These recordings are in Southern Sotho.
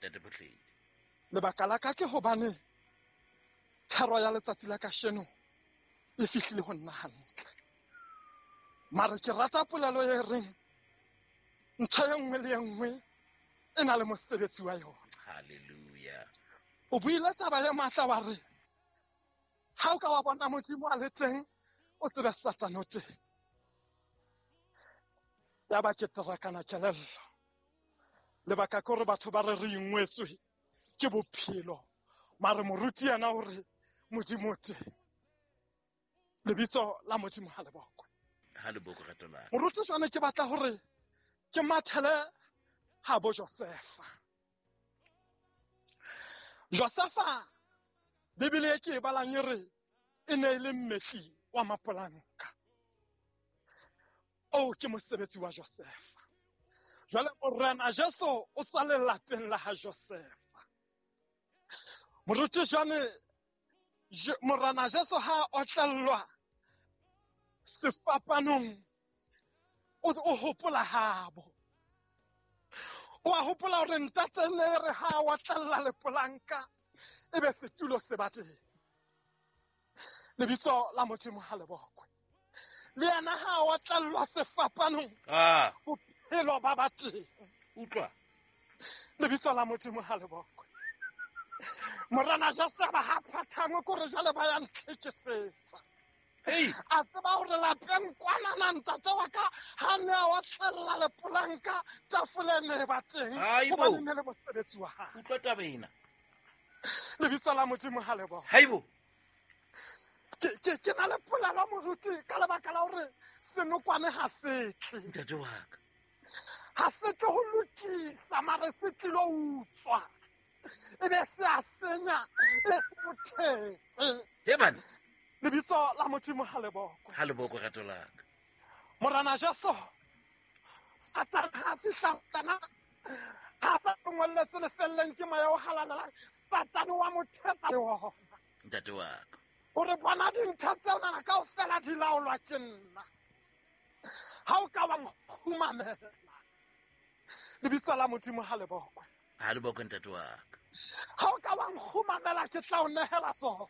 Ntate Phohledi. Lebaka la ka ke hobane thero ya letsatsi la kasheno e fihlile ho nna hantle. Mare ke rata polelo e reng ntho e nngwe le e nngwe e na le mosebetsi wa yona. Hallelujah. O buile taba e matla wa re ha o ka wa bona Modimo a le teng o tsebe Satane o teng. Ya ba ke terakana kelello. Lebaka ke hore batho ba re re ingwetswe ke bophelo, mare moruti yena o re Modimo o teng. Lebitso la Modimo ha le bokwe. Ha le bokwe rato la. Moruti jwane ke batla hore ke mathele ha bo Josefa. Josefa Bibele e ke e balang e re e ne e le mmetli wa mapolanka. O ke mosebetsi wa Josefa. Jwale Morena Jesu o tswa lelapeng la ha Josefa. Moruti jwane Morena Jesu ha otlellwa sefapanong o hopola habo. O a hopola hore ntate ne re ha otlella lepolanka ebe setulo se ba teng. Lebitso la Modimo ha le bokwe. Le yena ha otlellwa sefapanong bophelo ba ba teng. Utlwa. Lebitso la Modimo ha le bokwe. Morena Jesu ba ha phathangwe kore jwale ba ya ntlhekefetsa. A tseba hore lapeng kwanana ntate wa ka ha ne a otlella lepolanka tafole ne ba teng hobane ne le mosebetsi wa hae. Utlwa taba ena. Lebitso la Modimo ha le bokwe. Haibo. Ke na le polelo moruti ka lebaka la hore senokwane ha se tle. Ntate wa ka. Ha se tle ho lokisa mare se tlilo utswa. Ebe se a senya e se o thetse. He bana. Lebitso la Modimo ha le bokwe. Ha le bokwe rato la ka. Morena Jesu Satane ha fihla tsena ha sa ngolletse lefelleng ke moya o halalelang Satane wa mo thetsa le ona. Ntate wa ka. O re bona dintho tseo nana kaofela di laolwa ke nna. Ha o ka wa nkgumamela. Lebitso la Modimo ha le bokwe. Ha le bokwe ntate wa ka. Ha o ka wa nkgumamela ke tla o nehela tsona.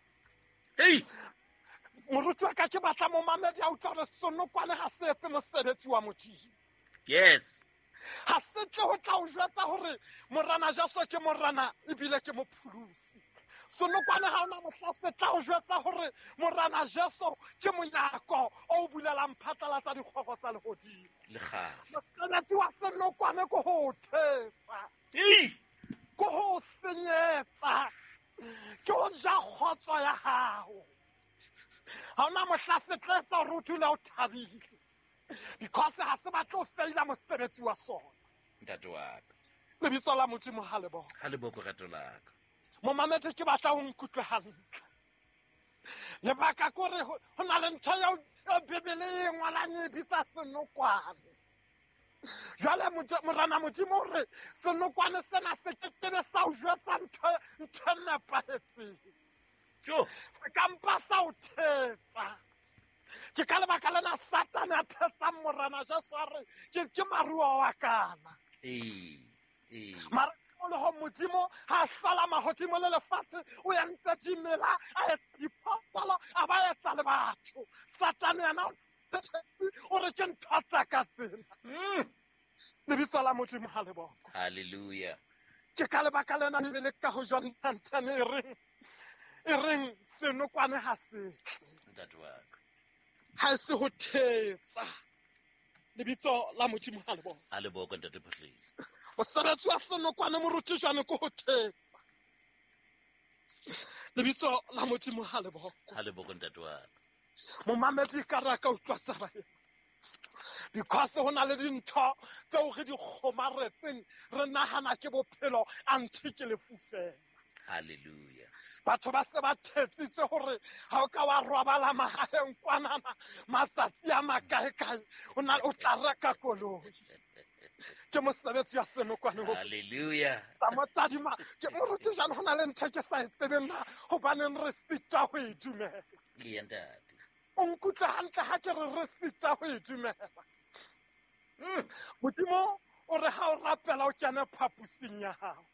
Ei! Moruti wa ka ke batla momamedi a utlwa hore senokwane ha se etse mosebetsi wa Modimo. Yes. Ha se tle ho tla o jwetsa hore Morena Jesu ke Morena ebile ke mopholosi. Senokwane ha ona mohla se tla o jwetsa hore Morena Jesu ke monyako o bulelang phatlalatsa dikgoro tsa lehodimo. Le kgale. Mosebetsi wa senokwane ke ho thetsa. Ei! Ke ho senyetsa. Ke ho ja kgotso ya hao. Ha ona mohla se tla etsa hore o dule o thabile. Because ha se batle ho feila mosebetsi wa sona. Ntate wa ka. Lebitso la Modimo ha le bokwe. Ha le bokwe rato la ka. Momamedi ke batla ho nkutlwe hantle. Lebaka ke hore ho na le ntho eo Bibele e ngwalang e bitsa senokwane. Jwale Morena Modimo o re senokwane sena se ke kebe sa o jwetsa ntho e nepahetseng. Jo. Se ka mpa sa o thetsa. Ke ka lebaka lena Satane a thetsang Morena Jesu a re ke maruo wa kana. Mara le ho Modimo ha hlola mahodimo le lefatshe o entse dimela a etsa diphoofolo a ba etsa le batho. Satane yena o re ke ntho tsa ka tsena. Lebitso la Modimo ha le bokwe. Hallelujah. Ke ka lebaka lena Bibele ka ho John 10 e reng senokwane ha se tle. Ntate wa ka. Ha se ho thetsa. Lebitso la Modimo ha le bokwe. Ha le bokwe ntate Phohledi. Mosebetsi wa senokwane moruti jwane ke ho thetsa. Lebitso la Modimo ha le bokwe. Ha le bokwe ntate wa ka. Momamedi ka re ka utlwa taba ena. Because ho na le dintho tseo re di kgomaretseng re nahana ke bophelo anthe ke lefu fela. Hallelujah. Batho ba se ba thetsitse hore ha o ka wa robala mahaheng kwanana matsatsi a makaekae o na o tla reka koloi. Ke mosebetsi wa senokwane ho. Hallelujah. Tsa motsadima ke moruti jwale ho na le ntho ke sa e tsebeng na hobaneng re sitwa ho e dumela. Eya ntate. O nkutlwe hantle ha ke re re sitwa ho e dumela. Modimo o re ha o rapela o kene phaposing ya hao.